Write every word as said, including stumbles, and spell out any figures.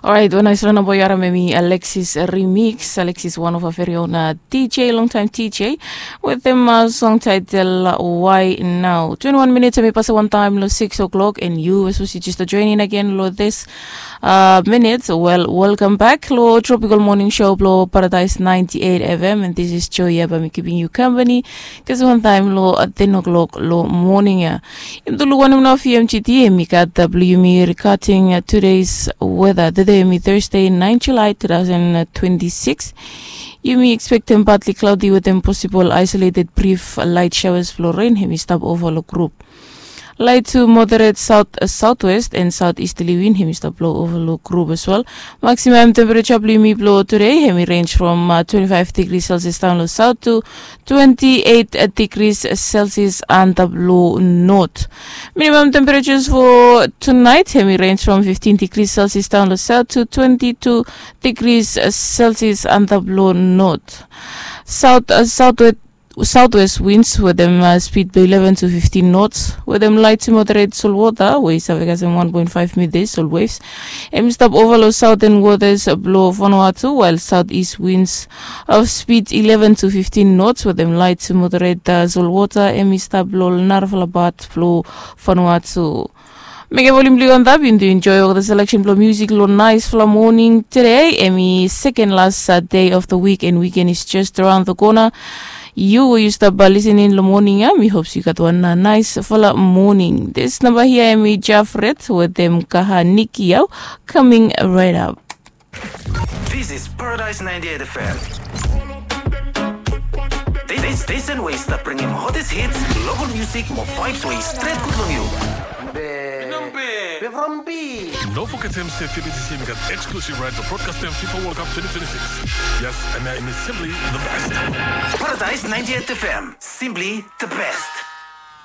Orait, wan nais rana boy aram hemi Alexis Remix. Alexis, one of our very own uh, D J, long time D J, with them uh, song title uh, Why Now. Twenty-one minutes hemi pasa wan time lo six o'clock, and you as well, you just join in again lo this uh, minutes. Well, welcome back lo Tropical Morning Show blo Paradise ninety-eight F M, and this is Joy Yaba, mi keeping you company. Kasi wan time lo uh, ten o'clock lo morning ya. Yumi tu lukaotem nao fi M G T, hemi gat uh, blo yumi regarding uh, today's weather. Today hemi Thursday, nine July two thousand twenty-six. Yumi expectem partly cloudy with them possible isolated brief light showers blo rain hemi stap ova lo group. Light to moderate south uh, southwest and southeasterly wind hemi stap blo ova lo group as well. Maximum temperature blo yumi blo today hemi range from uh, twenty-five degrees Celsius down lo south to twenty-eight degrees Celsius antap lo north. Minimum temperatures for tonight hemi range from fifteen degrees Celsius down lo south to twenty-two degrees Celsius antap lo north. South uh, southwest southwest winds with them uh, speed blo eleven to fifteen knots, with them light to moderate sol water wey save kasem one point five meters sol waves. Hemi stap ova lo southern waters blo Vanuatu, while southeast winds of speed eleven to fifteen knots with them light to moderate uh, sol water hemi stap lo narafala pat blo Vanuatu. Mekem volume blo yu antap, yu tu enjoy olgeta selection blo music lo naisfala morning today. Hemi second last uh, day of the week, and weekend is just around the corner. Yu we yu stap uh, listening lo morning ya, mi hope yu gat wan uh, naisfala morning. This number here hemi Jafret with them Kaha Niki Yau, coming right up. This is Paradise ninety-eight F M. This station wey stap bringim hottest hits, local music mo vibes wey stret gud long yu. Be from B. No forget him say Fibiti Simi got exclusive right to broadcast them FIFA World Cup twenty twenty-six. Yes, and I am simply the best. Paradise ninety-eight F M, simply the best.